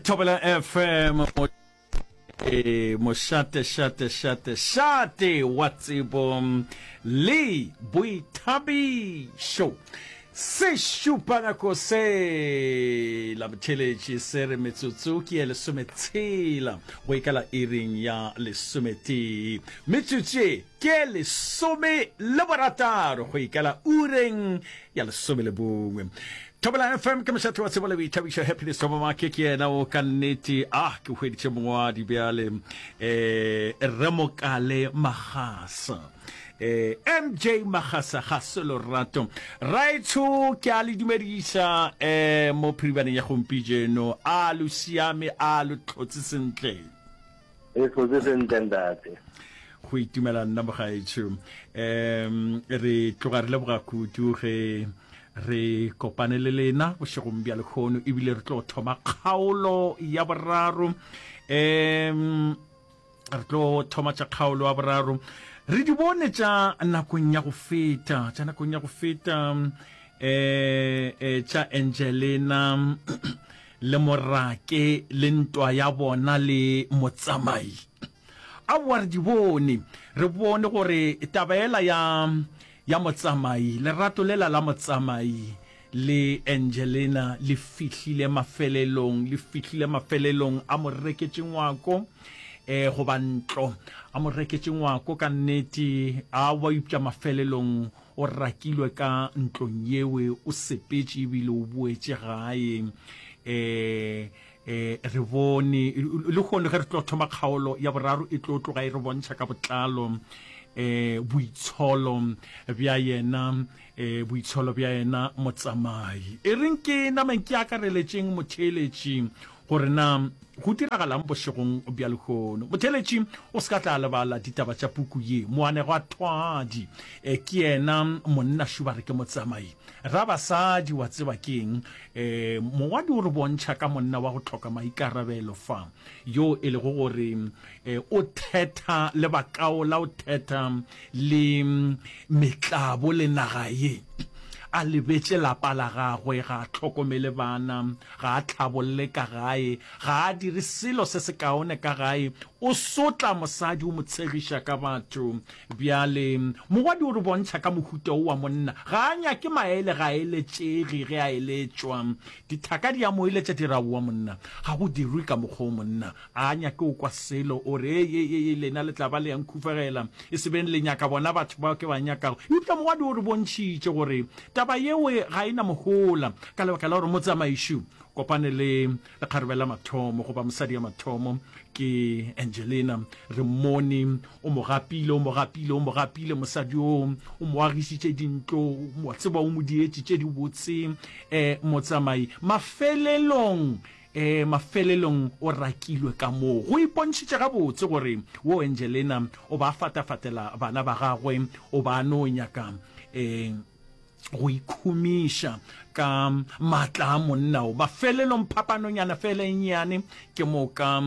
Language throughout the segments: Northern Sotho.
Thobela FM e mošate šate šate šate wa tsebo le boithabišo se šupa nako se la botheletši se re metsotso ke ye lesometshela go ikala iring ya lesometee metsotso ye ke lesome le borataro go ikala ureng ya lesome le bongwe. Thobela FM ke mošate wa tsebo le boithabišo. Happiness Thobamake ke yena o ka nnete. Ah, ke hweditše mongwadi bjale. Eh, Rre Mokale Magasa. Eh, MJ Magasa ga se lorato. Raetsho ke a le dumediša eh mo phiribaneng ya gompijeno. A lo siame, a lo tlhotse sentle. E tlotse sentle ntate. Go itumela nna mogaetsho. Um re tloga re leboga kudu ge re kopane le lena bošegong bja lehono ebile re tlo thoma kgaolo ya boraro. Um re tlo thoma tša kgaolo ya boraro. Re di bone tša nakong ya go feta, tša nakong ya go feta um tša Angelina le morake le ntwa ya bona le motsamai. Aowa, re di bone. Re bone gore taba yela ya, ya motsamai, lerato lela la motsamai le Angelina le fihlile mafelelong, le fihlile mafelelong. A mo reketše ngwako, eh, goba ntlo. A mo reketše ngwako ka nnete. Aowa, eupša mafelelong O rakilwe ka ntlong yewe, o sepetše ebile o boetše gae. E, e, re bone, lehono ge re tlo thoma kgaolo ya boraro e tlo tloga e re bontšha ka botlalo e, boitsholo bja yena, e, boitsholo bja yena motsamai. E reng ke nameng ke akareletšeng motheeletši gore na go diragalang bošegong bja lehono. Motheeletši o se ka tla lebala ditaba tša puku ye. Moanegwathwadi e, ke yena monna Šubare ke motsamai. Rabasadi wa tseba ke eng? E, mongwadi o re bontšha ka monna wa go hloka maikarabelo fa, yo e lego gore e, o thetha le bakaola, o thetha le metlabo le naga ye. A lebetše lapa la gagwe, ga a hlokomele bana, ga a hlabolle ka gae, ga a dire selo se sekaone ka gae, o sotla mosadi, o mo tshegiša ka batho. Bjale, mongwadi o re bontšha ka mohuta wo wa monna, ga a nyake maele, ga a eletšege ge a eletšwa. Dithaka di a mo eletša di re, Aowa monna, ga go dirwe ka mokgwa wo monna. Ga a nyake go kwa selo, o re, Ei, ei, ei, lena le tla ba le ya nkhufegela, e se beng le nyaka bona batho bao ke ba nyakago. Eupša mongwadi o re bontšhitše gore taba yeo ga e na mohola ka lebaka la gore motsamaiši o kopane le lekgarebe la mathomo goba mosadi ya mathomo ke Angelina. Re mmone o mo gapile, o mo gapile, o mo gapile mosadi yoo, o mo agišitše dintlo, wa tseba o mo dietše tše dibotse um motsamai. Mafelelong Ee, mafelelong o rakilwe ka moo. Go ipontšhitše gabotse gore wo Angelena o ba fatafatela bana ba gagwe, o ba no nyaka e, go ikhumiša ka maatla a monna o. Mafelelong phapanonyana fela e nnyane ke moka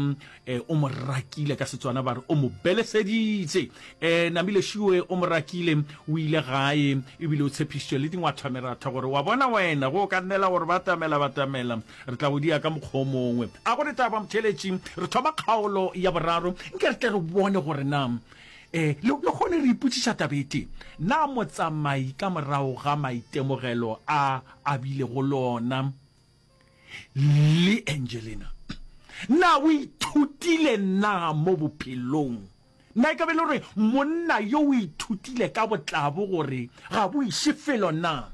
e, o mo rakile, ka Setswana ba re o mo beleseditše. E, Namile Šue o mo rakile, o ile gae ebile o tshepišitše le dingwathwameratha gore wa bona wena go ka nnela gore batamela batamela Re tla o dia ka mokgwa o mongwe. A go re taba, motheeletši, re thoma kgaolo ya boraro. Nke re tle re bone gore na e, le, le kgone re ipotšiša taba e tee. Na motsamai ka morago ga maitemogelo a a bilego le ona le Angelina, na o ithutile na mo bophelong? Na e ka be e le gore monna yo o ithutile ka botlabo gore ga bo iše felo na?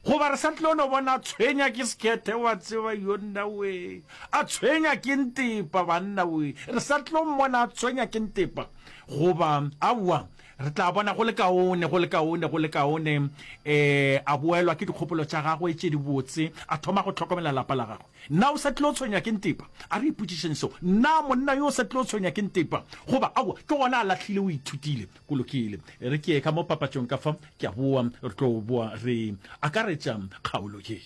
Goba re sa tlo no bona a tshwenya ke sekhethe, wa tseba, yo nna we, a tshwenya ke ntepa, banna we, re sa tlo mmona a tshwenya ke ntepa? Goba aowa, re tla bona go le kaone, go le kaone, go le kaone, eh, a boelwa ke dikgopolo tša gagwe tše dibotse, a thoma go hlokomela lapa la gagwe. Na o sa tlilo tshwenywa ke ntepa? A re ipotšišeng seo. Na monna yo o sa tlilo tshwenywa ke ntepa? Goba, aowa, ke gona a lahlile, o ithutile. Go lokile. E re ke ye ka mo papatšong ka fa, ke a boa, re tlo boa re akaretša kgaolo ye.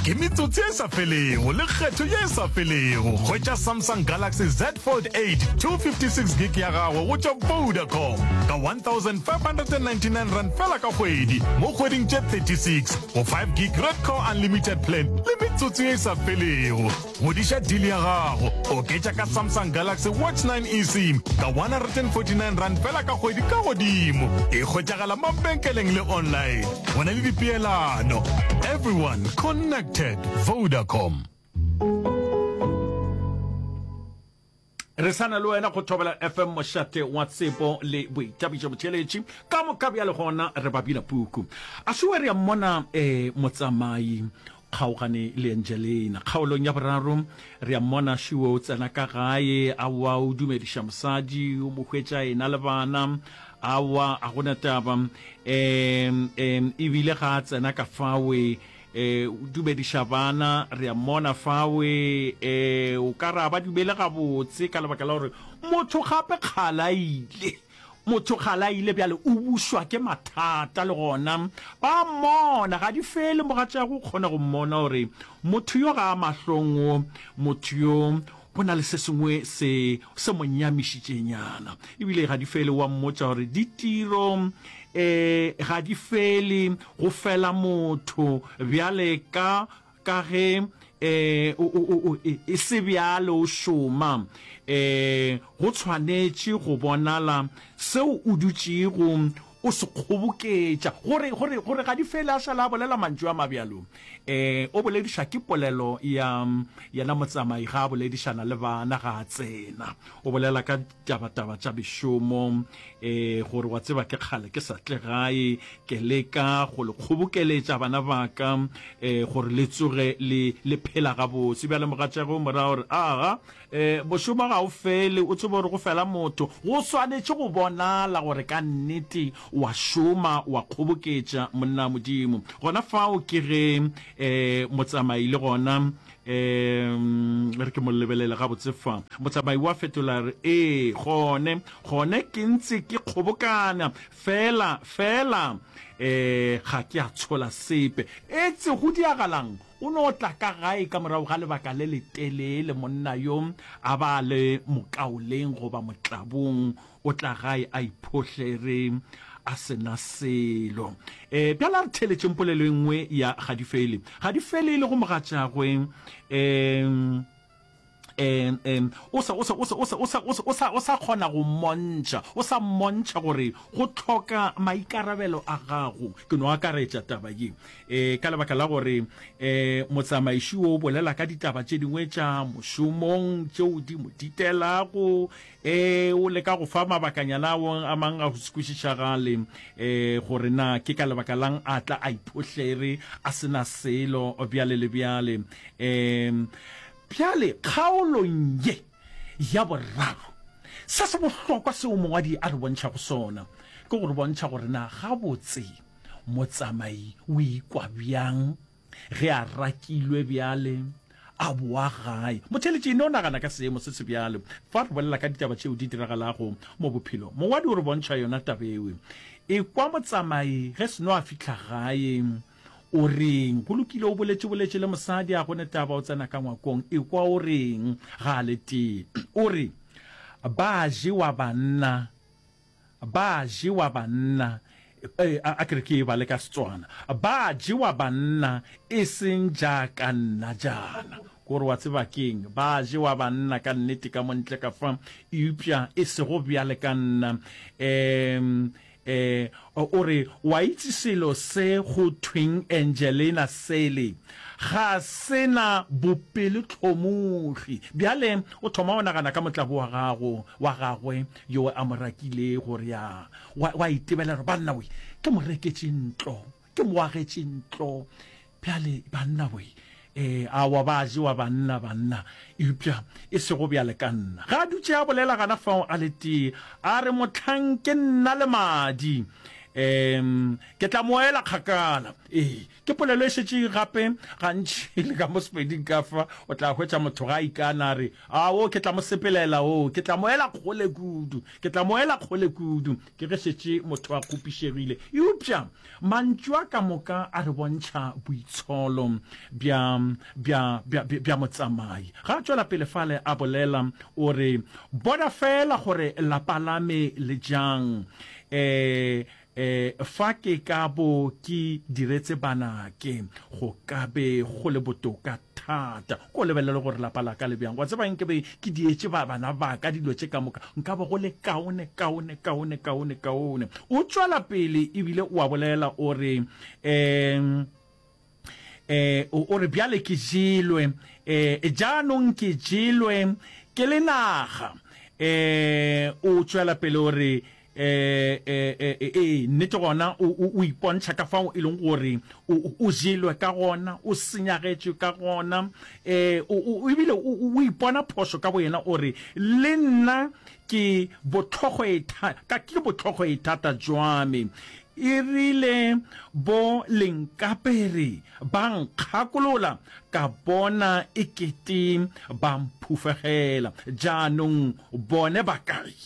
Ke metsotso ye e sa felego le kgetho ye e sa felego. Hwetša Samsung Galaxy Z Fold 8 256 gig ya gago go tšwa Vodacom ka R1599 fela ka kgwedi mo kgweding tše 36 go 5 gig Red Core Unlimited Plan le metsotso ye e sa felego. Godiša deal ya gago, oketša ka Samsung Galaxy Watch 9 eSIM ka R149 fela ka kgwedi ka godimo. E hwetšagala mabenkeleng le online. Go na le dipeelano. Everyone connected. Vodacom. Re sa na le wena go Thobela FM, mošate wa tsebo le boithabišo. Botheeletši ka moka bjale gona re ba bina puku. A šowe re a mmona eh, motsamai kgaogane le Angelina. Kgaolong ya boraro re a mmona Šuwe o tsena ka gae, aowa o dumediša mosadi, o mo hwetša ena le bana, aowa a gona taba. Um, um, ebile ga a tsena ka fawe E, o dumediša bana, re a mmona fawe, e, o ka re a ba dumele gabotse ka lebaka la gore motho gape kgale a ile. Motho kgale a ile bjale o bušwa ke mathata le gona ba mmona, ga di fele mogatšagwe o kgona go mmona gore motho yo ga a mahlong o, motho yo go na le se sengwe se se mo nyamišitšenyana. Ebile ga di fele wa mmotša gore ditiro um ga di fele, go fela motho bjale ka ka ge um o e se bjale o šoma um go tshwanetše go bonala seo o dutšego o se kgoboketša gore gore gore ga di fele a šala a bolela mantšu a mabjalo um o bolediša ke polelo ya yena motsamai ga a boledišana le bana ga a tsena o bolela ka Tabataba tša mešomo, e, gore wa tseba ke kgale ke sa tle gae, ke leka go le kgobokeletša bana ba ka, e, gore le tsoge le, le phela gabotse. Bjale mogatšagwe o mo raya gore, Aga, e, mošomo ga o fele, o tsebe gore go fela motho. Go swanetše go bonala gore ka nnete o a šoma, o a kgoboketša, monna Modimo. Gona fao ke ge, e, motsamai le gona Um re ke mo lebelele gabotse fa. Motsamai wa fetola re, Ee, gone, gone ke ntse ke kgobokana, fela, fela um ga ke a tshola sepe. Etse go diagalang? O no tla ka gae ka morago ga lebaka le letelele, monna yo a ba a le mokaoleng goba motlabong, O tla gae a iphohlere a se na selo. E, bjale a re theeletšeng polelo e nngwe ya Gadifele. Gadifele e lego mogatšagwe, e, e, e, o sa, o sa, o sa, o sa, o sa, o sa, o sa, o sa kgona go mmontšha, o sa mmontšha gore go hloka maikarabelo a gago. Ke no akaretša taba ye, e, ka lebaka la gore, e, motsamaiši o bolela ka ditaba tše dingwe tša mošomong tšeo di mo ditelago, Ee, o leka go fa mabakanyana ao a mang a go se kwešišagale, ee, gore na ke ka lebaka la'ng a tla a iphohlere a se na selo bjale le bjale. Ee, bjale kgaolong ye ya boraro, se se bohlokwa seo mongwadi a re bontšhago sona ke go re bontšha gore na gabotse motsamai o ikwa bjang Ge a rakilwe bjale, a boa gae. Motheeletši, e no nagana ka seemo se se bjalo. Fa re bolela ka ditaba tšeo di diragalago mo bophelong, mongwadi o re bontšha yona taba eo. Ekwa motsamai ge seno a fihla gae, o reng? Go lokile, o boletše boletše le mosadi, a go ne taba, o tsena ka ngwakong. Ekwa o reng ga a le tee. O re, Ba jewa banna. Ba jewa banna, e, a, a ke re ke e bale ka Setswana. Ba jewa banna e seng jaaka nna jaana. Kore wa tseba keng? Ba jewa banna ka nnete ka mo ntle ka fa, eupša e sego bjale ka nna. Um, e, o re, wa itse selo se go thweng Angelina sele ga se na bopelotlhomogi. Bjale o thoma go nagana ka motlabo wa gago, wa gagwe yo a mo rakilego, gore ya, wa, wa itebelela gore, Banna we, ke mo reketše ntlo, ke mo agetše ntlo. Bjale, banna we, e, aowa, ba jewa banna, banna, eupša e sego bjale ka nna. Ge a dutše a bolela gana fao a le tee, a re, Mohlang ke nna le madi. Um ke tla mo ela kgakala. Ee, ke polelo e šetše gape gantši le ka mo Sepeding ka fa, o tla hwetša motho ga a ikana a re, Ao, ke tla mo sepelela, oo, ke tla mo ela kgole kudu, ke tla mo ela kgole kudu. Ke ge šetše motho a kgopišegile. Eupša mantšu a ka moka a re bontšha boitsholo bja, bja, bja, bja motsamai. Ga a tšwela pele fale a bolela, o re, Bona feela gore lapa la me le jang. E, e, fa ke ka bo ke diretse banake, go ka be go le botoka thata. Ko lebelele gore lapa la ka le bjang. Wa tseba, nke be ke dietše ba, bana ba ka dilo tše ka moka, nka be go le kaone, kaone, kaone, kaone, kaone. O tšwela pele ebile o a bolela, o re, um, eh, o re bjale ke jelwe, eh, jaanong ke jelwe ke le naga. Eh, o tšwela pele o re, eh, eh, eh, eh, nnete gona o, o, o ipontšha ka fao e leng gore o, o jelwe ka gona, o senyagetšwe ka gona, eh, o, o, ebile o, o ipona phošo ka boyena, o re, le nna ke botlhogoetha, ka ke botlhogoethata jwa me. E rile bo lenkapere ba nkgakolola, ka bona e kete ba mphufegela. Jaanong bone ba kae?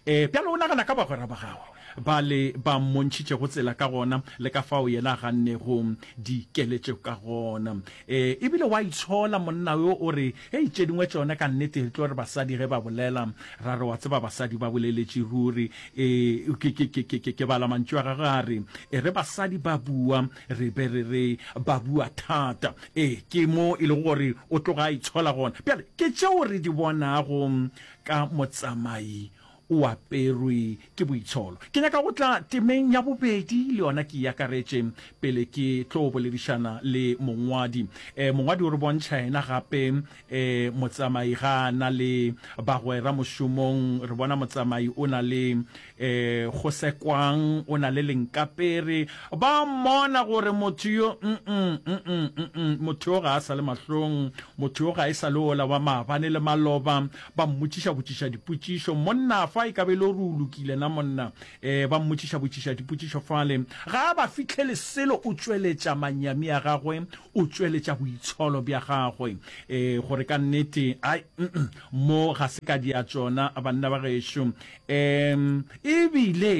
E, bjale o nagana ka bagwera ba gagwe ba le ba mmontšhitšego tsela ka gona le ka fao yena a gannego dikeletšo ka gona. E, e bile wa itshola monna yo, o re, Hei, tše dingwe tšona ka nnete re tlo re basadi ge ba bolela, ra re wa tseba basadi ba boleletše ruri. E, ke, ke, ke, ke, ke, ke bala mantšu a gagwe a re, E re basadi ba bua, re be re re ba bua thata. E, ke mo e lego gore o tloga a itshola gona. Bjale, ke tšeo re di bonago ka motsamai o aperwe ke boitsholo. Ke nyaka go tla temeng ya bobedi le yona ke e akaretše pele ke tlo boledišana le mongwadi. E, mongwadi o re bontšha yena gape e, motsamai ga a na le bagwera mošomong. Re bona motsamai o na le e, Gosekwang, o na le Lenkapere. Ba mmona gore motho yo, mm-mm, mm-mm, mm-mm, motho yo ga a sa le mahlong, motho yo ga e sa le ola wa maabane le maloba. Ba mmotšiša-botšiša dipotšišo. Monna fa e ka be e le gore o lokile na monna? E, ba mmotšiša-botšiša dipotšišo fale. Ga a ba fihlele selo, o tšweletša manyami a gagwe, o tšweletša boitsholo bja gagwe. E, gore ka nnete, ai, mm, mo ga se ka dia tšona, banna ba gešo. E, ebile,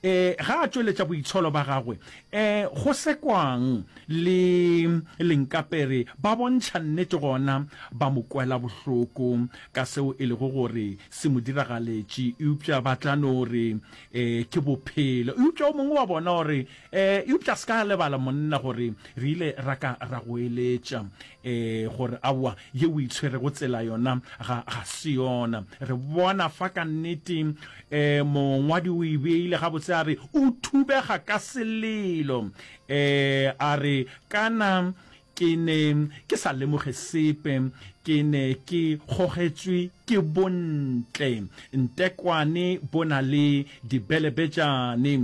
e, ga a tšweletša boitsholo ba gagwe, e, go sekwang le Lenkapere ba bontšha nnete gona ba mo kwela bohloko ka seo e lego gore se mo diragaletše, eupša ba tla no re e, ke bophelo. Eupša o mongwe wa bona o re, e, eupša se ka lebala monna gore re ile ra ka ra go eletša e, gore aowa ye o itshwerego tsela yona ga, ga se yona. Re bona fa ka nnete e, mongwadi o e beile gabotse a re o thubega ka selelo. E, a re, Kana ke ne ke sa lemoge sepe, ke ne ke gogetšwe ke bontle. Ntekwane bo na le dibelebetšane.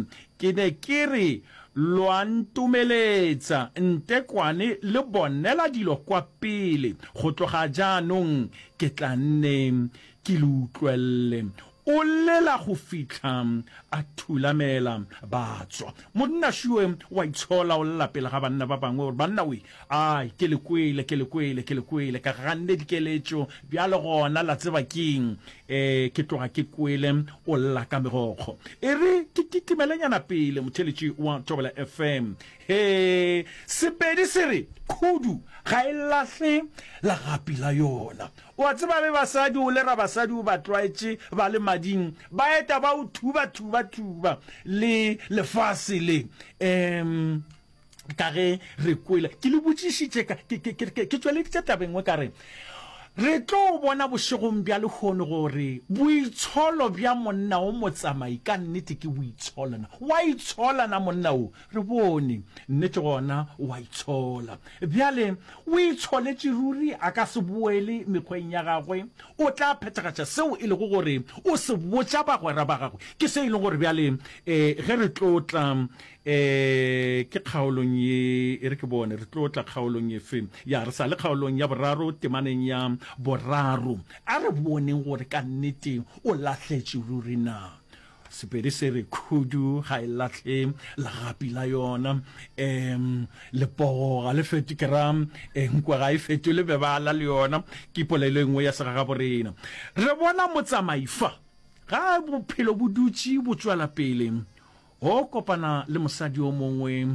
Ke ne ke re lwa ntomeletsa, ntekwane le bonela dilo kwa pele. Go tloga jaanong ke tla nne ke le utlwelle. O llela go fihla a thulamela ba tswa. Monna šue wa itshola, o lla pele ga banna ba bangwe, o re, Banna we, ai, ke le kwele, ke le kwele, ke le kwele, ka ganne dikeletšo, bjale gona la tseba keng? E, ke tloga ke kwele o lla ka megokgo. E re ke kitimelenyana pele, motheeletši wa Thobela FM. He, Sepedi se re, Khudu ga e lahle legapi la yona. O a tseba be basadi o le ra basadi o ba tlwaetše ba le mading ba eta ba o thuba thuba thuba le lefase le um ka ge re kwele ke le botšišitše ka ke ke ke ke tšweleditše tabeng nngwe ka re re tlo bona bošegong bja lehono gore boitsholo bja monna o motsamai ka nnete ke boitsholo na wa itshola na monna o Re bone, nnete gona o a itshola. Bjale, o itsholetše ruri, a ka se boele mekgweng ya gagwe. O tla phethagatša seo e lego gore o se botša bagwera ba gagwe. Ke se e lego gore bjale, e, ge re tlo tla, e, ke kgaolong ye, e re ke bone, re tlo tla kgaolong efe? Ya, re sa le kgaolong ya boraro, temaneng ya boraro. A re boneng gore ka nnete o lahletše ruri na. Sepedi se re khudu ga e lahle legapi la yona, um lepogo ga le feto, ke ra nkwe ga e fetole bebala le yona. Ke polelo e nngwe ya segagaborena. Re bona motsamai fa, ga bophelo bo dutše bo tšwela pele, o kopana le mosadi o mongwe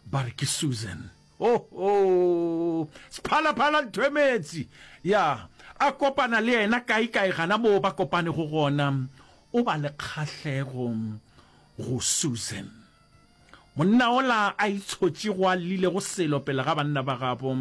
ba re ke Susan. Oho! Sephalaphala Nthwemetsi! Ya, a kopana le yena kaekae gana moo ba kopanego gona. O ba le kgahlego go Susan. Monna ola a itshotšego a llilego selo pele ga banna ba gabo,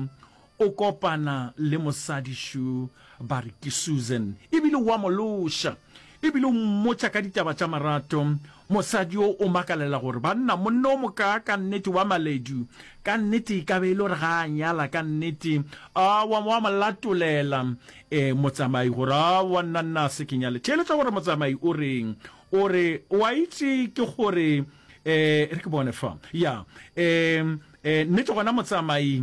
o kopana le mosadi šo ba re ke Susan, ebile o a mo loša. Ebile o mmotša ka ditaba tša marato. Mosadi yo o makalela gore, Banna, monna o mokaa ka nnete wa Maledu, ka nnete e ka be e le gore ga a nyala ka nnete. Aowa, wa mo latolela e, motsamai gore, Aowa, nna, nna a se ke nyale. Theeletša gore motsamai o reng. O re, O a itše ke gore, e, re ke bone fa. Ya, e, e, nnete gona motsamai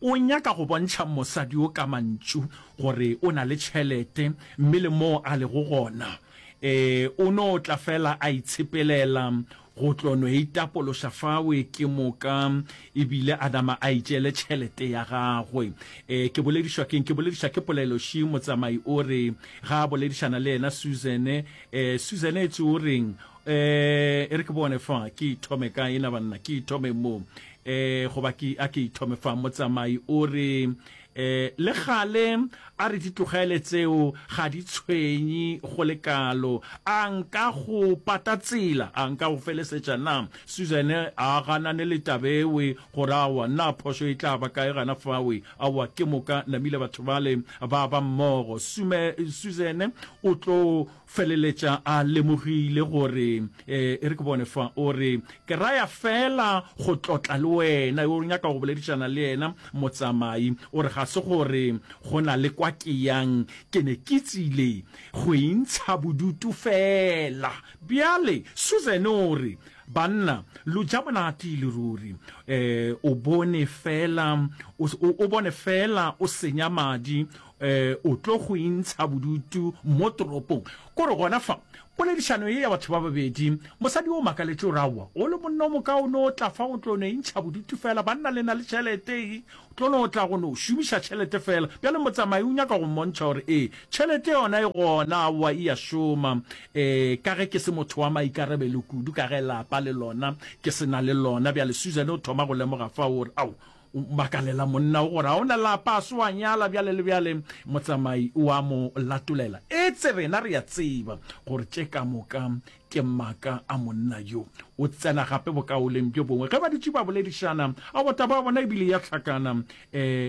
O nyaka go bontšha mosadi yo ka mantšu gore o na le tšhelete mme le moo a lego gona e o no tla fela a itshepelela go tlo no itapološa fawe ke moka ebile a nama a itšeele tšhelete ya gagwe. E ke boledišwa keng? Ke boledišwa ke poleloši motsamai o re ga a boledišana le yena Susan e Susan etse o reng? E e re ke bone fa ke ithome kae na banna ke ithome mo. E, goba ke, a ke ithome fa, motsamai o re, e, le gale a re di tlogele tseo, ga di tshwenye go le kalo. A nka go pata tsela? A nka go felesetša na? Susan a ganane le tabewe gore aowa, na phošo e tla ba kae gana fawe? Aowa, ke moka namile batho bale ba ba mmogo. Sume, Susan o tlo Feleletša a lemogile gore, e re ke bone fa, o re, Ke raya feela go tlotla le wena. O nyaka go boledišana le yena, motsamai. O re, Ga se gore go na le kwa ke yang, ke ne ke tsile go intsha bodutu feela. Bjale, Susan o re, Banna, lo ja monate e le ruri. E, o bone feela, o, o, o bone feela o senya madi, E, o tlo go intsha bodutu mo toropong. Kore gona fa, poledišano ye ya batho ba babedi, mosadi o makaletše o re, Aowa, o le monna o mokaone o tla fa o tlo no intšha bodutu fela, banna le na le tšhelete, e, o tlo no tla go no šomiša tšhelete fela. Bjale motsamai o nyaka go mmontšha gore ee, tšhelete yona e gona, aowa e a šoma. E, ka ge ke se motho wa maikarabelo kudu, ka ge lapa le lona ke se na le lona. Bjale Susan o thoma go lemoga fao gore, ao, O makalela monna o gore ga o na lapa, a se wa nyala bjale le bjale. Motsamai o a mo latolela. Etse rena re a tseba gore tše ka moka ke maaka a monna yo. O tsena gape bokaoleng bjo bongwe. Ge ba dutše ba boledišana, aowa taba ya bona e bile ya hlakana. Um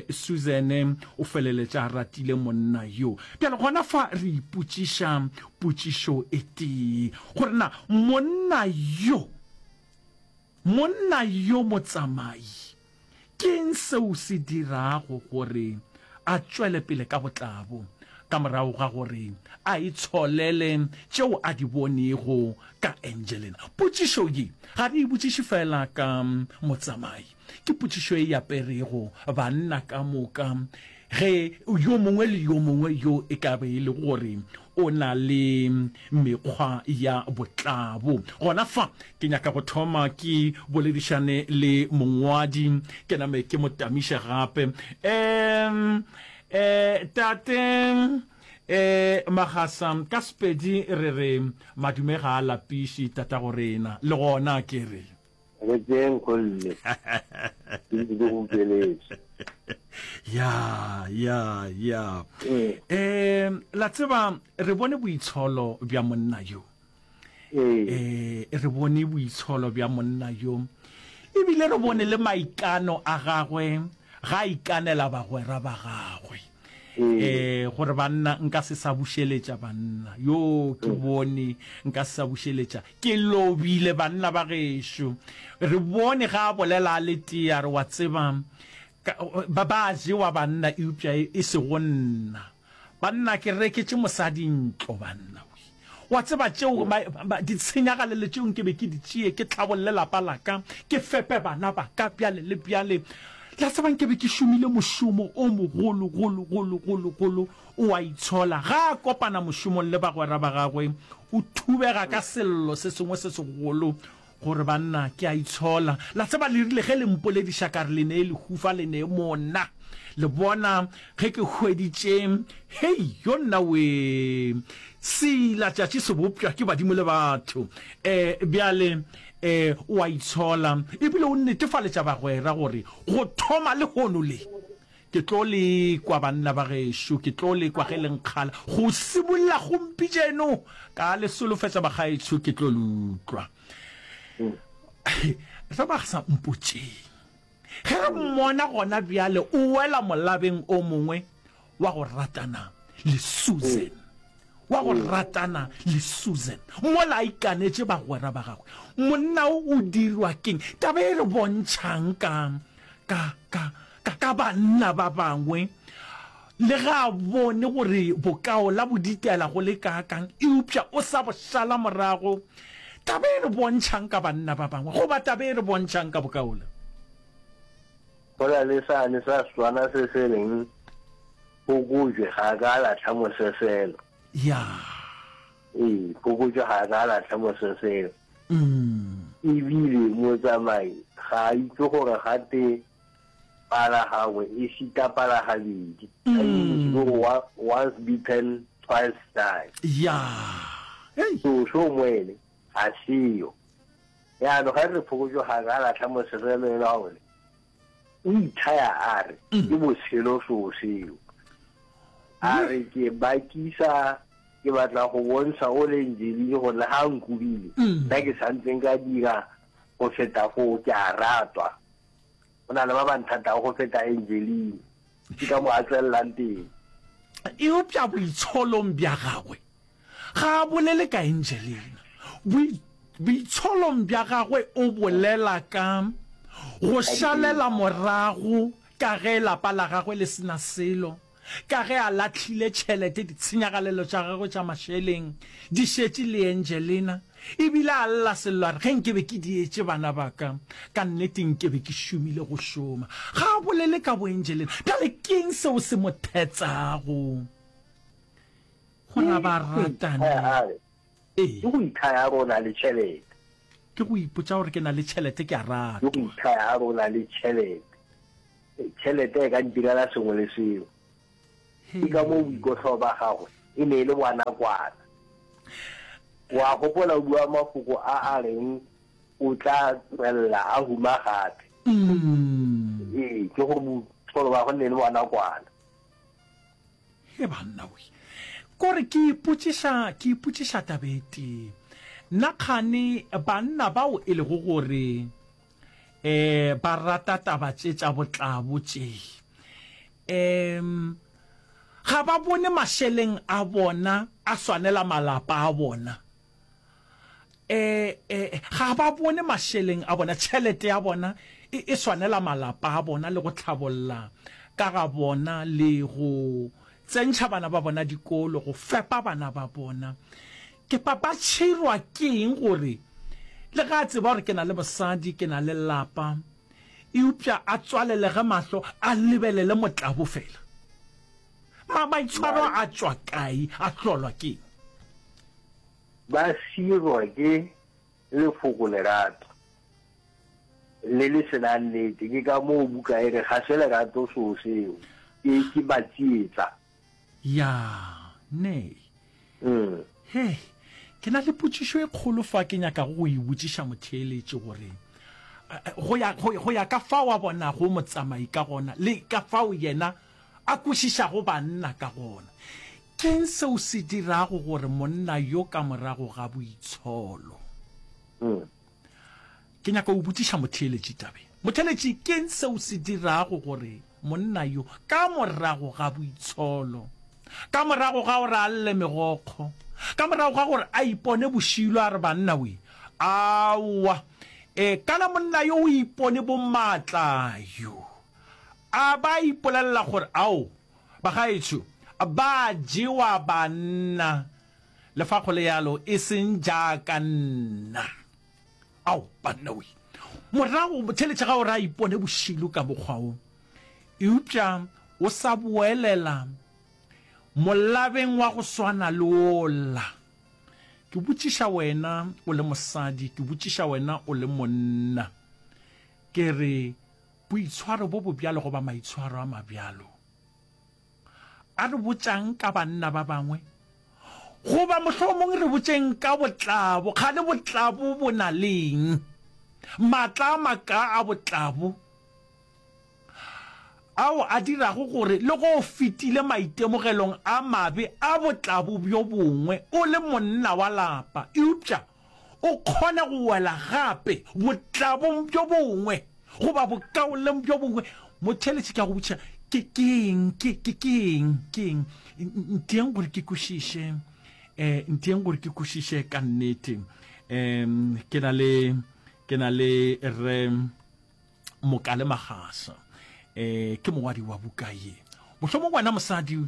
Susan o feleletša a ratile monna yo. Bjale gona fa re ipotšiša potšišo e tee, gore na monna yo, Monna yo motsamai, ke'ng seo se dirago gore a tšwele pele ka botlabo ka morago ga gore a itsholele tšeo a di bonego ka Angelena? Potšišo ye ga re e botšiše feela ka motsamai. Ke potšišo e aperego banna ka moka Ge yo mongwe le yo mongwe yo e ka be e le gore o na le mekgwa ya botlabo. Gona fa ke nyaka go thoma ke boledišane le mongwadi, ke name ke mo tamiše gape. Um, eh, tate eh, Magasa, ka Sepedi re re madume ga a lapiše tatago rena, le gona ke re. Re tšeeng golle. Ke ntse ke go utlweletše. Ya, ya, ya. Eh, la tseba re bone boitsholo bja monna yo. Eh, re bone boitsholo bja monna yo. Ebile re bone le maikano a gagwe ga a ikanela bagwera ba gagwe. Eh, gore banna nka se sa bušeletša banna. Yo ke bone nka se sa bušeletša. Ke lobile banna ba gešo. Re bone ga a bolela a le tee a re, Wa tseba, ka, ba, ba jewa banna eupša e, e sego nna. Banna, ke reketše mosadi ntlo, banna. Wa tseba tšeo, ma, ma, ditshenyagalelo tšeo nke be ke di tšee, ke hlabolle lapa la ka, ke fepe bana ba ka, bjale le bjale. La tseba nke be ke šomile mošomo o mogolo golo golo golo golo. O a itshola. Ga a kopana mošomong le bagwera ba gagwe, o thubega ka sello se sengwe se segolo, gore, Banna, ke a itshola. La tseba le rile ge le mpolediša ka re le nee lehufa, le nee mona. Le bona ge ke hweditše, hei, yo nna wee! Seilatšatši se bopša ke badimo le batho. E, bjale, e, o a itshola. Ebile o netefaletša bagwera gore go thoma lehono le, Ke tlo le kwa, banna ba gešo, ke tlo le kwa ge le nkgala. Go simolla gompijeno, ka le solofetša bagaetsho, ke tlo le utlwa. Re ba sa mpotšeng. Ge re mmona gona bjale o wela molabeng o mongwe wa go ratana le Susan. Wa go ratana le Susan. Mola a ikanetše bagwera ba gagwe. Monna o o dirwa ke'ng? Taba e re bontšhang ka, ka, ka, ka, ka banna ba bangwe, le ge a bone gore bokaola bo ditela go le kaakang, eupša o sa bo šala morago. Taba e re bontšhang ka banna ba bangwe, goba taba e re bontšhang ka bokaola? Go na le sane sa Setswana se se reng, Phokojwe ga a ka a lahla moseselo. Ya. Ee, phokojwe ga a ka a lahla moseselo. Ebile motsamai ga a itse gore gate pala gangwe e šita pala gabedi. Ka English ke gore once bitten, twice shy. Ya. Hei. So, so moene ga seyo. Jaanong ga re re phokojwe ga a ka a lahla moseselo e la gore O ithaya a re, Ke botshelo soo seo. A re, Ke bakisa, ke batla go bontsha o le Angeline gore le ga a nkobile, nna ke santse nka dira go feta foo, ke a ratwa. Go na le ba ba nthatago go feta Angeline. Ke ka mo a tswelelang teng. Eupša boitsholong bja gagwe, ga a bolele ka Angelina. Boitsholong bja gagwe o bolela ka go šalela morago ka ge lapa la gagwe le se na selo, ka ge a lahlile tšhelete, ditshenyagalelo tša gagwe tša mašeleng di šetše le Angelina, e bile a lla sello a re, Ge nke be ke dietše bana ba ka, ka nnete nke be ke šomile go šoma. Ga a bolele ka boAngelina. Bjale ke'ng seo se mo thetsago gore a ba ratane? Ee. Ke go ithaya gore o na le tšhelete. Ke go ipotša gore ke na le tšhelete, ke a ratwa. Ke go ithaya gore o na le tšhelete. Tšhelete e ka ntirela sengwe le sengwe. Ke ka moo boikohlao ba gagwe e ne e le bwa nakwana. O a gopola o bua mafoko a a reng o tla tswelela a huma gape. Ee, ke gore boitsholo ba gagwe e ne e le bwa nakwana. He banna we. Kore ke ipotšiša, ke ipotšiša taba e tee. Nna kgane banna bao e lego gore eh ba rata taba tše tša botlabo tše, em ga ba bone mašeleng a bona a swanela malapa a bona? E, e, ga ba bone mašeleng a bona, tšhelete ya bona e, e swanela malapa a bona le go hlabolla ka ga bona le go tsentšha bana ba bona dikolo, go fepa bana ba bona. Ke ba, ba tšhirwa ke eng gore le ge a tseba gore ke na le mosadi, ke na le lapa, eupša a tswalelege mahlo a lebelele motlabo fela? Ma, maitshwaro a tšwa kae, a hlolwa ke eng? Ba sirwa ke lefoko lerato le le se nang nnete. Ke ka moo buka e re ga se lerato soo seo, ke, ke ba tsietsa. Ya, nee. Hei, ke na le potšišo e kgolo fa ke nyakago go e botšiša motheeletši gore, go ya, go, go ya ka fao a bonago motsamai ka gona le ka fao yena a kwešišago banna ka gona. Ke'ng seo se dirago gore monna yo ka morago ga boitsholo? Ke nyaka go botšiša motheeletši taba ye. Motheeletši, ke'ng seo se dirago gore monna yo ka morago ga boitsholo, ka morago ga gore a lle megokgo, ka morago ga gore a ipone bošilo a re banna we, aowa, e, kana monna yo o ipone bomatla yo, a ba ipolelela gore ao, Bagaetsho, ba jewa banna, le fa go le yalo e seng jaaka nna. Ao, banna we! Morago, theeletša ga o re a ipone bošilo ka mokgwa wo. Eupša o sa boelela molabeng wa go swana le wola. Ke botšiša wena o le mosadi, ke botšiša wena o le monna, ke re, Boitshwaro bo bobjalo goba maitshwaro a mabjalo a re botša'ng ka banna ba bangwe? Goba mohlomong re botšeng ka botlabo, kgane botlabo bo na le eng? Matla a makaa a botlabo ao a dirago gore le ge o fetile maitemogelong a mabe a botlabo bjo bongwe o le monna wa lapa, eupša o kgone go wela gape botlabong bjo bongwe goba bokaoleng bjo bongwe. Motheeletši, ke a go botšiša, ke, ke eng, ke, ke, ke eng, ke eng? Ntieng gore ke kwešiše, eh, ntieng gore ke kwešiše ka nnete. Um, ke na le, ke na le re Mokale Magasa, eh, ke mongwadi wa buka ye. Mohlomong wena mosadi,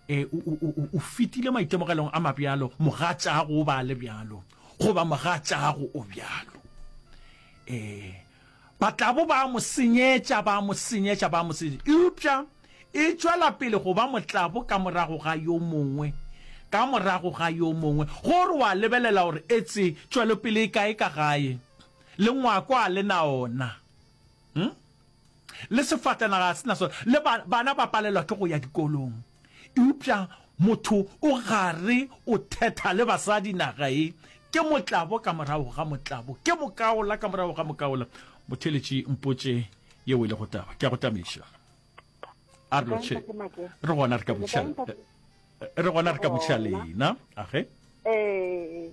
eh, o, o, o, o fetile maitemogelong a mabjalo, mogatšago o ba le bjalo, goba mogatšago o bjalo. Eh, Batlabo ba a mo senyetša, ba a mo senyetša, ba a mo senyetša. Eupša e tšwela pele go ba motlabo ka morago ga yo mongwe, ka morago ga yo mongwe. Gore wa lebelela gore etse tšwelopele e kae ka gae, le ngwako a le na ona. Hm? Le sefatanaga a se na sona, le ba, bana ba palelwa ke go ya dikolong. Eupša motho o gare o thetha le basadi naga e, ke motlabo ka morago ga motlabo, ke mokaola ka morago ga mokaola. Motheeletši mpotše yeo e lego taba. Ke a go tamiša. A re lotšhe. Re gona re ka botšiša re gona re ka botšiša lena. Age. Ee.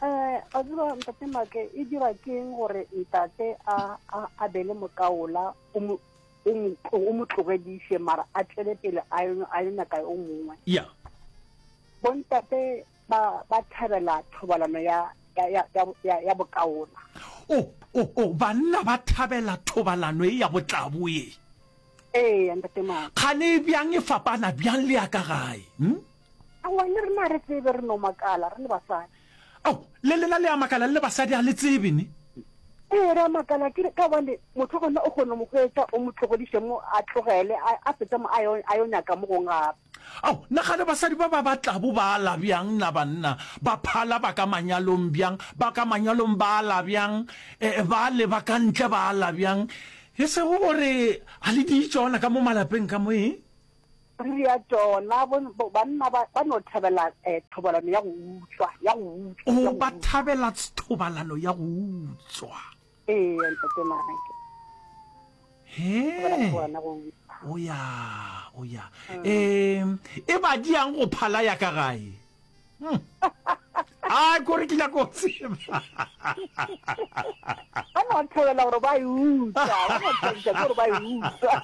Eh, a tseba ntate Make e dira keng gore ntate a a a be le mokaola o mo o mo o mo tlogediše mara a tšwele pele a yo a yo nyaka o mongwe. Ya. Bontate ba ba thabela thobalano ya ya ya ya ya bokaola. O o o banna ba thabela thobalano e ya botlabo ye. Ee, ntate Make. Kgane e bjang e fapana bjang le ya ka gae? Hm? Aowa, le rena ga re tsebe, re no makala re le basadi. Ao, le lena le a makala le le basadi, ga le tsebe ne? Ee, re a makala ke ka gobane motho gona o kgona mo hwetša o mo tlogediše mo a tlogele a, a fetša mo a yo, a yo nyaka mo gongwe gape. Ao, na gane basadi ba ba ba tlabo ba ala bjang na banna? Ba phala ba ka manyalong bjang? Ba ka manyalong ba ala bjang? E, ba le ba ka ntle ba ala bjang? E sego gore ga le di tšona ka mo malapeng ka mo, eng? Re ria tšona, bo, bo, banna ba, ba no thabela eh, thobalano ya go utswa, ya go utswa, O, ya go ba utswa. thabela thobalano ya go utswa. Ee, ntate Mike. Thabela He. thobalano ya go utswa. O ya, o ya. Um, e ba diang go phala ya ka gae? Hmm. A kore ke nyaka go tseba. Ba no thabela gore ba e utswa, ba no thabiša ke gore ba e utswa.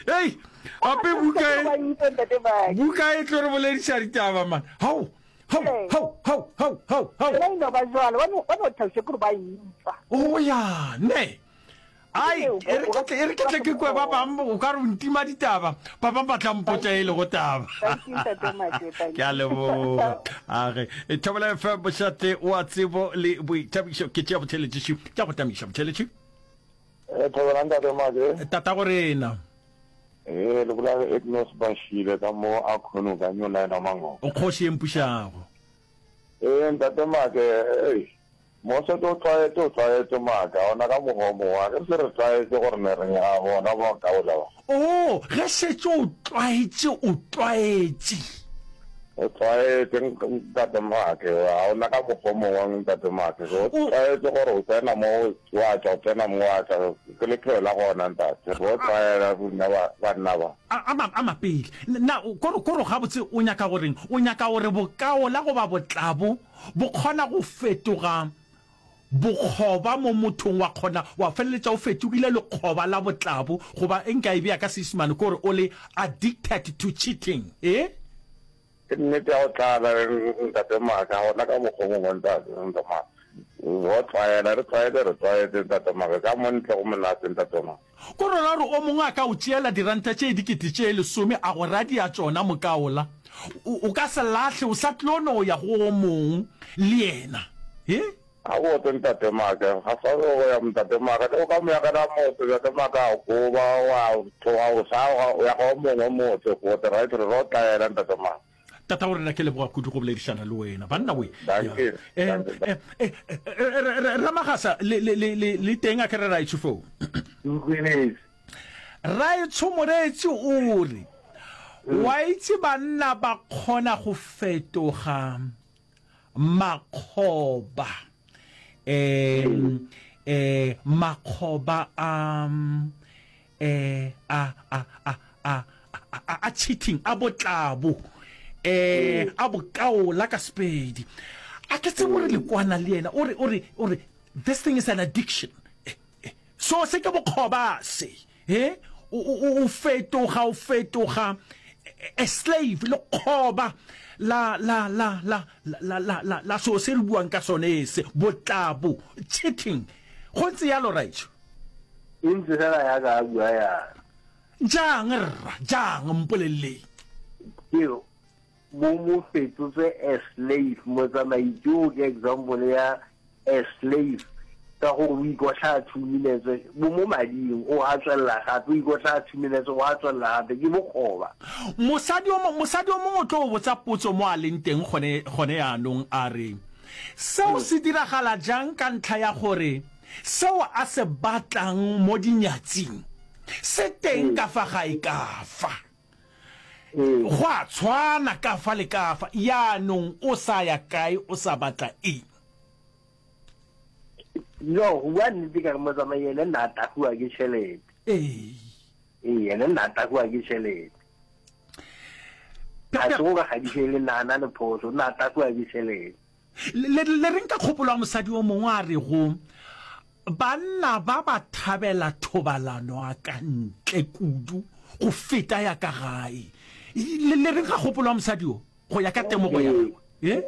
Hei, ape buka e Ba e utswa ntate Mike. buka e tlo re bolediša ditaba man. Hao, hao, Ee. hao, hao, hao, hao, hao. Yona e no ba jwalo, ba no ba no thabiša ke gore ba e utswa. O ya, ne. Ai, e re ke tle, e re ke tle ke kwe ba bang, o ka re o ntima ditaba, ba bang ba tla mpotša e lego taba. Ke a leboga. Age, e Thobela FM mošate wa tsebo le boithabišo, ke tšea botheletši, ke a go tamiša botheletši. Eh, Thobela ntate Make. Tatago rena. Eh, le bolela le Agnes Bashile ka mo a kgono ka New Line wa Mangope. O kgoši e mpušago. Eh, ntate Make, ei. Mose to tlwaetše, o tlwaetše maaka, ona ka mokgwa o mongwe, a ke re se re tlwaetše gore ne re a bona ba kaola ba. Oo, ge šetše o tlwaetše, o tlwaetše. O tlwaetše, Ntate Maake, ga ona ka mokgwa o mongwe, Ntate Maake, o tlwaetše gore o tsena mo, wa tšwa, o tsena mo, wa tšwa, ke lephelo la gona, Ntate, re o tlwaela rena banna ba. A, a, a mapele. Na, kore, kore gabotse o nyaka go reng? O nyaka gore bokaola goba botlabo Bo kgona go fetoga bokgoba mo mothong, wa kgona wa feleletša o fetogile lekgoba la botlabo, goba e nka e bea ka Seisemane ke gore o le addicted to cheating. E? Ke nnete ya go tlala, Ntate Maka, gona ka mokgwa o mongwe, Ntate, Ntate Maka. Go tlwaela, re tlwaetse, re tlwaetse, Ntate Maka. Ka mo ntle go monate, Ntate Maka. Ko rona gore o mongwe a ka o tšeela diranta tše dikete tše lesome a go radia tšona mokaola, o, o ka se lahle, o sa tlo no ya go o mong le yena. He? Gabotse Ntate Make, ga sa go ya Ntate Make, le o ka mo yagela motse Ntate Make a goba wa tloga o sa o ya go mongwe motse gote right re ro tlaela Ntate Make. Tata wa rena ke leboga kudu go boledišana le wena banna we. Dankie. Eh, eh, eh, eh, Ramagasa le le le le teng a ke re raetsho foo. Nkweletse. Raetsho moreetsi o re wa itse banna ba kgona go fetoga makgoba um eh makgoba a eh a a a a a a cheating a botlabo eh a bokaola ka sepedi a ke tsebe gore le kwana le yena o re o re o re this thing is an addiction eh, eh, so se ke bokgoba se He, o, o, o fetoga, o fetoga a slave, lekgoba la, la, la, la, la, la, la, la seo se re buang ka sone se, botlabo, cheating. Go ntse yalo, raetsho? E ntse fela ya ka a bua yana. Jang, rra, jang, mpoleleleng. Ke bo mo fetotse a slave, motsamaisi o ke example ya a slave ka gore o ikotlhaya 2 minutes bo mo mading o a tswelela gape o ikotlhaya 2 minutes o a tswelela gape ke bokgoba. Mosadi o mosadi o mongwe o tlo o botsa potso mo a leng teng gone gone yaanong a re seo se diragala jang ka ntlha ya gore seo a se batlang mo dinyatsing se teng ka fa gae ka fa. Go a tshwana ka fa le ka fa. Yaanong o sa ya kae o sa batla eng? No, go bua nnete ka re motsamai ene nna a tagiwa ke tšhelete. Ee. Ee, ene nna a tagiwa ke tšhelete. Ga se go ka gadiše le nna a na le phoso, nna a tagiwa ke tšhelete. Le, le reng ka kgopolo ya mosadi o mongwe a rego, Banna ba ba thabela thobalano ya ka ntle kudu go feta ya ka gae? Le, le reng ka kgopolo ya mosadi yo, go ya ka temogo ya gagwe? E?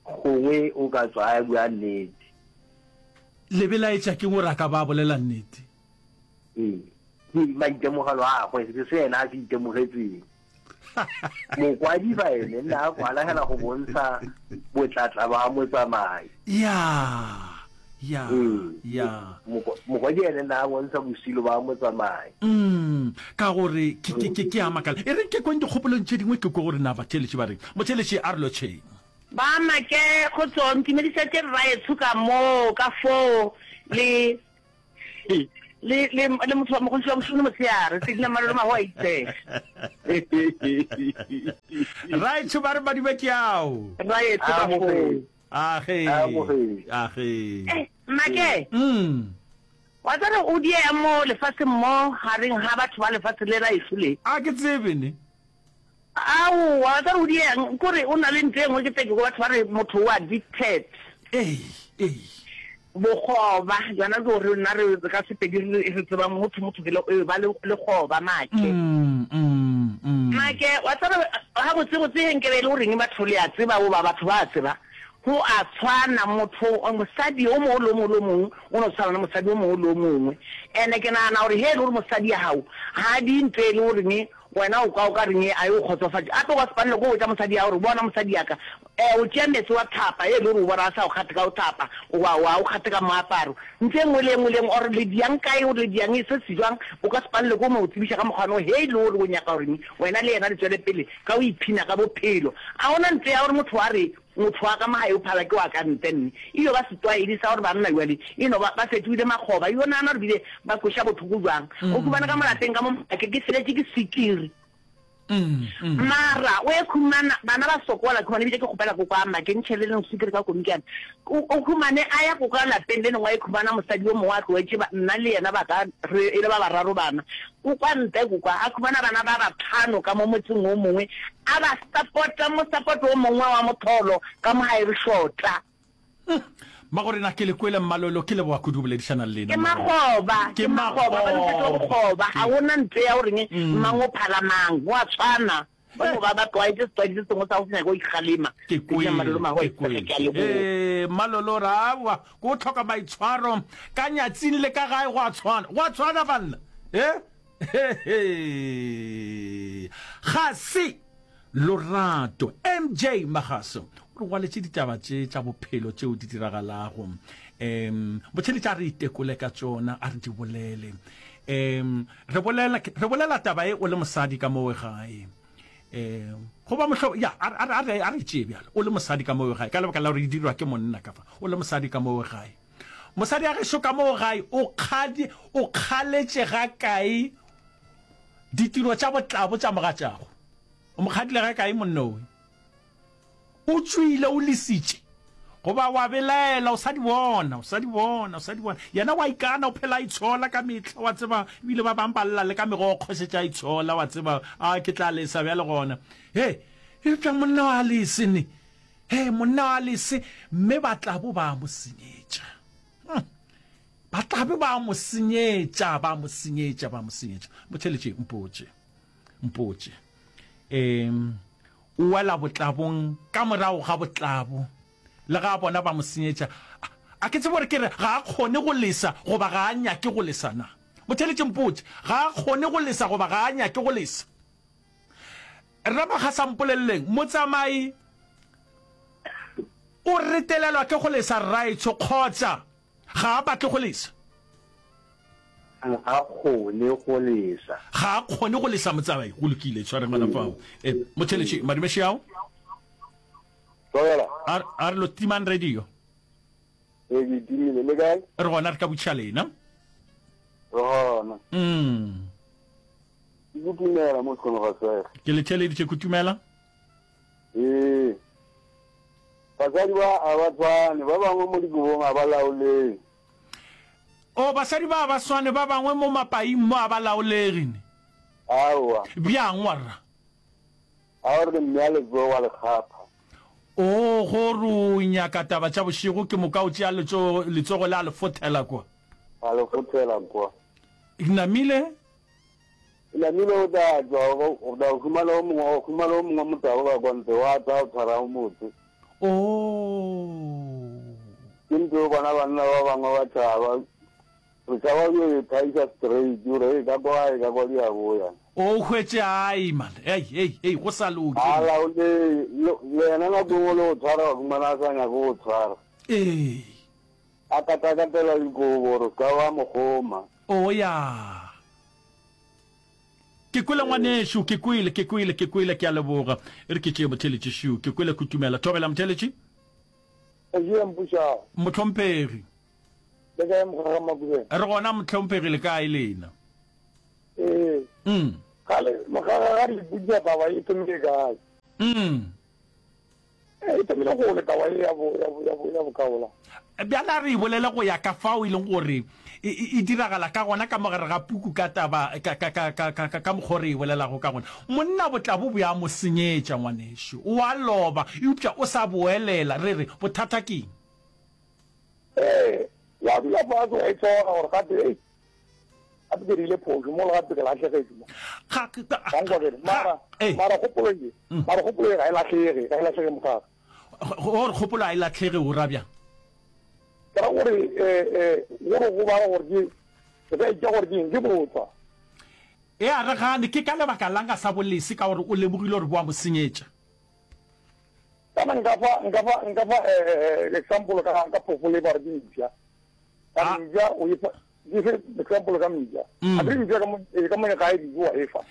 Gongwe o ka tswa a bua nnete. Le belaetša ke gore a ka ba a bolela nnete? Ee, ke maitemogelo a gagwe, ke se yena a se itemogetseng. Mokwadi fa ene nna a kwala hela go bontsha botlatla ba motsamai. Ya, ya, ya. Mokwadi ene nna a bontsha bosilo ba motsamai. Mm, ka gore ke ke ke ke a makala. E reng ke kweng dikgopolong tše dingwe ke kwe gore na batheeletši ba reng. Motheeletši a re lotšheng. Ba make kgotso ntumedišetše rraetsho ka moo ka foo le le le le motho wa mogontši wa mošomo motshehare tse dina malolo mago a itsege Raetsho ba re madume ke ao. Raetsho ka foo. Age. Age. Eh, make. Mm. Wa tsare o die mo lefatsheng mo gareng ga batho ba lefatshe le raetsho le. A ke tsebe ne. Aowa, wa tseba o dieng? Kore o na le ntho e nngwe ke tse ke kwa batho ba re motho o addicted. Ee, ee. Bokgoba, yona ke gore nna re ka Sepedi re re tsebang go thwe motho ke le e ba le lekgoba make. Mm, mm, mm. Make, wa tseba ga botse botse he nkebe e le goreng batho le a tseba goba batho ba tseba, go a tshwana motho mosadi o mongwe le o mongwe le o mongwe o no tshwana le mosadi o mongwe le o mongwe. And-e ke nagana gore he e le gore mosadi ya gago ga a die ntho e le goreng Wena o kwa o ka reng a e o kgotsofatše? Gape o ka se palelwe ke go botša mosadi ya gore, Bona mosadi ya ka, e, o tšea meetse wa thapa, e le gore o bona a sa o kgathe ka go thapa, goba wa o kgathe ka moaparo. Ntho e nngwe le e nngwe le e nngwe, or le diang kae, or le diang se se jwang, o ka se palelwe ke go mo tsebiša ka mokgwa no, he e le gore o nyaka gore wena le yena le tšwele pele ka go iphina ka bophelo. A go na ntho ya gore motho a re, Motho wa ka mo gae o phala ke wa ka ntle mme e yo ba setlwaedi sa gore banna bjale e no ba ba fetogile makgoba. Yo nagana gore bile ba kweša bohloko bjang. O khumana ka mo lapeng ka mo ke ke feletše ke swikiri. Mara o e khumana bana ba sokola ke gona ebile ke kgopela koko a make ntšhele leng swikiri ka komikana. O khumane a ya koko a lapeng le lengwe a e khumana mosadi yo mongwe a tloetše nna le yena ba ka re e le ba bararo bana. O kwa ntle ko kwa, a khumana bana ba batlhano ka mo motseng o mongwe, a ba sapota mo sapoto o mongwe wa motholo ka mo gae re shota. Mmagorena ke le kwele Mmalolo, ke leboga kudu go boledišana le lena Ke makgoba, ke makgoba, ba losetšwa bokgoba, ga go na ntho ya goreng mang o phala mang, go a tshwana. Ba no ba ba tlwaetše setlwaedi se sengwe sa go se nyake go ikgalema. Ke Ke Mmalolo kwele, Mahoe, ke kwele. Ke a leboga. Ee, Mmalolo ra aowa, ke go tlhoka maitshwaro ka nyatsing le ka gae go a tshwana. Go a tshwana banna. Eh? Hehe. Ga se Lorato MJ Magaso o re ngwaletše ditaba tše tša bophelo tšeo di diragalago. Um botheletša a re itekole ka tšona, a re di bolele. Um re bolela, re bolela taba e o le mosadi ka mowe gae. Um goba mohlo, ya, a, a, a, re, a re tšee bjalo, o le mosadi ka mowe gae, ka lebaka la gore e dirwa ke monna ka fa, o le mosadi ka mowe gae. Mosadi ya gešo ka moo gae o kgadi, o kgaletše ga kae ditiro tša botlabo tša mogatšago? O mo kgadile ga kae monna owe? O tšwile, o lesitše, goba wa belaela, o sa di bona, o sa di bona, o sa di bona. Yena wa ikana, o phela a itshola ka mehla, wa tseba, ebile ba bang ba lla le ka megokgo šetše a itshola, wa tseba, a ke tla lesa bjale gona. He, eupša monna wa lese ne. He, monna wa lese, mme ba tla bo ba mo senyetša. Hmm. Ba tla be ba mo senyetša, ba mo senyetša, ba mo senyetša. Motheletše, mpotše, mpotše. Um, o wela botlabong ka morago ga botlabo, le ga a bona ba mo senyetša. A ke tsebe gore ke re ga a kgone go lesa goba ga a nyake go lesa na? Motheletše, mpotše, ga a kgone go lesa goba ga a nyake go lesa? Rre Makgasa mpoleleleng, motsamai o retelelwa ke go lesa rraetsho kgotsa ga a batle go lesa? Ga a kgone go lesa. Ga a kgone go lesa motsamai. Go lokile, tshwareng gona fao. E, motheletši, madume šiao. Tlogela. A, a re lo timang radio. Ee, ke timile. Le kae? Re gona, re ka botšiša lena. Re gona. Mm. Ke kutumela mo sekgono ga sege. Ke le theeleditše kutumela. Ee. Basadi ba a ba tshwane, ba bangwe mo dikobong a ba laolegi. O, basadi ba a ba swane, ba bangwe mo mapaing mo a ba laolegi ne. Aowa. Bjang warra? A o re mme a letsogo wa le kgapha. O, go re o nyaka taba tša bošego ke moka o tšea letsogo, letsogo le a le fothela kwa. A le fothela kwa. Namile? Namile o tla tšwa, o tla humana o mongwe, o humana o mongwe motabo ka kwa ntle, wa tla o tshwara o motse. Oh. Ke ntho o bona banna ba bangwe ba tšhaba, re tšhaba yo e thaisa straight, o re, ka kwa, ka kwa di a boya. O hwetše ai man, ei, ei, ei, go sa loke. A laole, le yena nako engwe le go tshwara, wa humana a sa nyake go tshwara. Ee. A katakatela dikobo gore o se ka wa mo kgoma. O ya. Ke kwele ngwanešu, ke kwele, ke kwele, ke kwele, ke a leboga. E re ke tšee motheeletši šiu, ke kwele kutumela. Thobela motheeletši. Kgoši Mpušago. Mohlomphegi. Le kae Mokgwega Makubeng? Re gona mohlomphegi, le kae lena? Ee. Mm. Gale Mokgwega ga re ipotšiša taba e thomile kae? Mm. E thomile gole taba ye ya bo, ya bo, ya bo, ya bokaola. Bjale a re e bolele go ya ka fao e leng gore e, e, e diragala ka gona ka mo gare ga puku ka taba, ka, ka, ka, ka, ka, ka, ka mokgwa o re e bolelago ka gona. Monna botlabo bo a mo senyetša, ngwanešu. O a loba, eupša o sa boelela. Re re, bothata ke eng? Ee, wa dula fase wa itshola gore gape, hei, gape ke dirile phošo mola gape ke lahlegetšwe mo. Ga, ga, Wa nkwa ke re, mara, ee. mara kgopolo ye, mara kgopolo ye ga e lahlege, ga e lahlege mokgaka. Gore kgopolo ga e lahlege o ra bjang? Ke ra gore, eh, eh, gore go bala gore ke, re ka itša gore ke eng, ke botswa. E a re gane, ke ka lebaka lang a sa bo lese ka gore o lemogile gore bo a mo senyetša? Kana nka fa, nka fa, nka fa, eh, eh, eh, example ka, ka phoofolo e ba re ke mpša. Ka Ah. mpša o e fa, ke fe example ka mpša. Mm. A ke re mpša ka mo, eh, ka mo gae dijo wa e fa.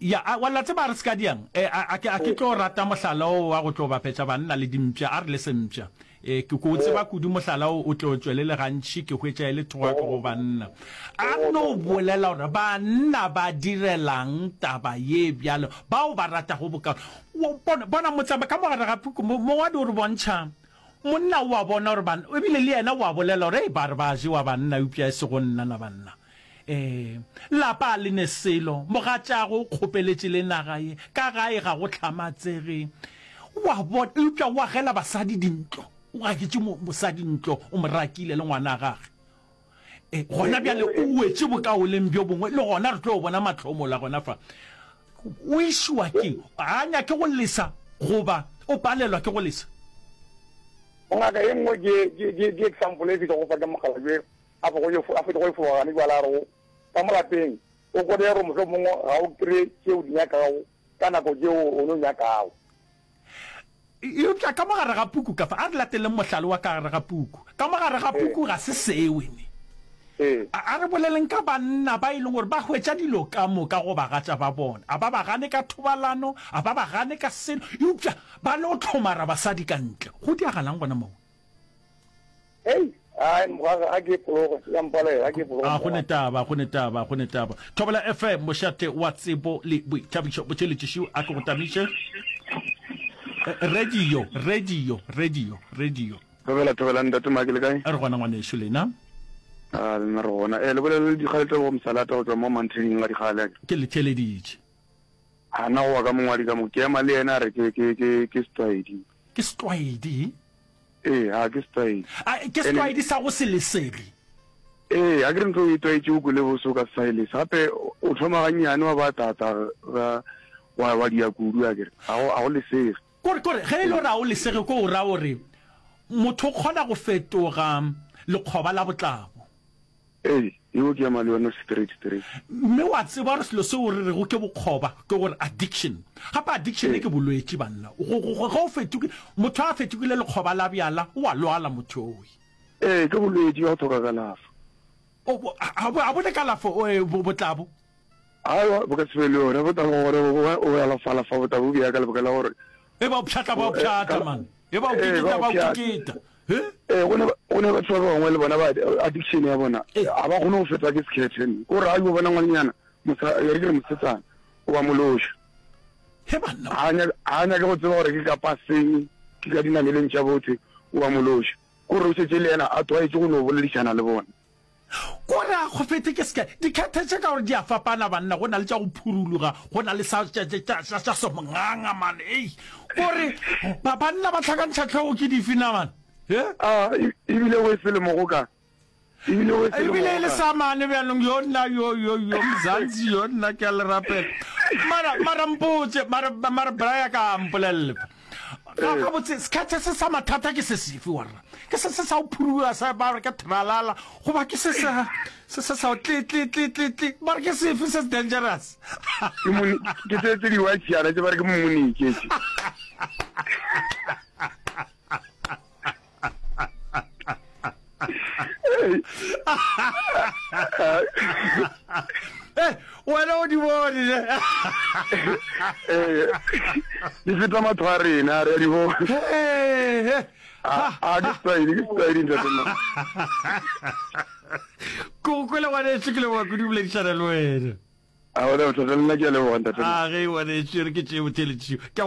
Ya, a, wa la tseba a re se ka diang? E, a, a ke, a ke tlo rata mohlala o wa go tlo bapetša banna le dimpša, a re le sempša. E, ke, ke o tseba kudu mohlala o, o tlo tšwelele gantši, ke hwetša e le thogako go banna. A no bolela gore banna ba direlang taba ye bjalo, bao ba ratago bokaone. Wo, bona, bona motsama, ka mo gare ga puku, mo, mongwadi o re bontšha, monna o a bona gore ban, ebile le yena o a bolela gore, Hei, ba re ba jewa banna, eupša e sego nna na banna. Ee, lapa a le ne selo, mogatšago o kgopeletše le naga ye, ka gae ga go hlamatsege. Wa bona, eupša o agela basadi dintlo, o agetše mo, mosadi ntlo, o mo rakile le ngwana gage. E, gona bjale o wetše bokaoleng bjo bongwe, le gona re tlo bona mahlomola gona fa. O išwa keng? Ga a nyake go lesa goba o palelwa ke go lesa? Ngaka ye nngwe ke, ke, ke, ke example e ke tšwago fa ke mokgalabje a fe go yo, a fetše go efoga gane bjale a re go, ka mo lapeng, o kone gore mohlomongwe ga o kry-e tše o di nyakago ka nako tše o no nyakago. Eupša ka mo gare ga puku ka fa, a re lateleng mohlala wa ka gare ga puku. Ka mo gare ga puku ga se seo, ne. A, a re boleleng ka banna ba e leng gore ba hwetša dilo ka moka go bagatša ba bona. A ba ba gane ka thobalano, a ba ba gane ka selo, eupša ba no hlomara basadi ka ntle. Go diagalang gona moo? Hei, ai, mogwera, ga ke pologe, ya mpalela, ga ke pologe. A go ne taba, go ne taba, go ne taba. Thobela FM, mošate wa tsebo le boithabišo. Botšheletšišiu, a ke go tamiše. Radio, radio, radio, radio. Thobela, thobela, ntate Maki, le kae? Re gona ngwanešu, lena? A, lena re gona. Eh, le bolela le Dikgale Tebogo Mosalata go tšwa mo Mountain ga Dikgale. Ke le theeleditše. A na go wa ka mongwadi ka mo, ke ema le yena a re ke, ke, ke, ke setlwaedi. Ke setlwaedi? Ee, a ke setlwaedi. A ke setlwaedi sa go se lesege? Ee, a ke re ntho o e tlwaetše o kwele bose o ka se sa e lesa. Gape o thoma gannyane wa ba tata ga wa wa dia kudu a ke re a go a go lesege. Kore kore ge e le gore a o lesege ko o ra gore motho o kgona go fetoga lekgoba la botlabo. Ee, yeo ke ema le yona straight straight. Mme wa tseba gore selo seo re rego ke bokgoba ke gore addiction. Gape addiction ke bolwetši banna. Go, go, go, ge o fetogile, motho a fetogile lekgoba la bjala, o a lwala motho owe. Ee, ke bolwetši bja go hloka kalafo. O, bo, a, a bo ne kalafo, o, bo, botlabo? Aowa, bo ka se be le yona. Bo tla gore o o alafa-alafa bo tla bo bea ka lebaka la gore. E ba o pšhatla ba o pšhatla man. E ba o kikita ba o kikita. He? Ee, go ne go ne batho ba bangwe le bona ba addiction ya bona ga ba kgone go fetwa ke sekhethe. Ke gore ga yo bona ngwanenyana, mosa, e re ke re mosetsana, o ba mološa. He banna. Ga a nyake go tseba gore ke ka paseng, ke ka dinameleng tša botse, o ba mološa. Ke gore o šetše le yena a tlwaetše go no boledišana le bona. Ko re a kgofethe ke seka dikhethe tše ka gore di a fapana banna, go na le tša go phuruluga, go na le sa tša tša tša tša somnganga man, ei ko re ba banna ba tlhakantšha tlhogo ke dife na man, he? A ebile o e selemo go ka, ebile o e selemo Ebile e le sa mane bjanong, yo nna yo yo yo Mzansi yo nna ke a le rapela. Mara mara mpotše mara mara Brian ka mpolelele fa. Ga gabotse sekhethe se sa mathata ke se sefe warra? Ke se se sa o phuruga sa ba re ke tralala goba ke se sa se se sa o tle tle tle tle tle ba re ke sefe se se dangerous? Ke moni ke tse tse di white yana tse ba re ke monike tse. Eh, wena o di bone ne? Eh, di feta matho a rena re a di bona. Eh, eh. A ke setlwaedi, ke setlwaedi ntate nna. Ko go kwele ngwaneso ke leboga kudu boledišana le wena. A gona bothata le nna ke a leboga ntate. A ge ngwaneso re ke tšee botheletšo. Ke a go.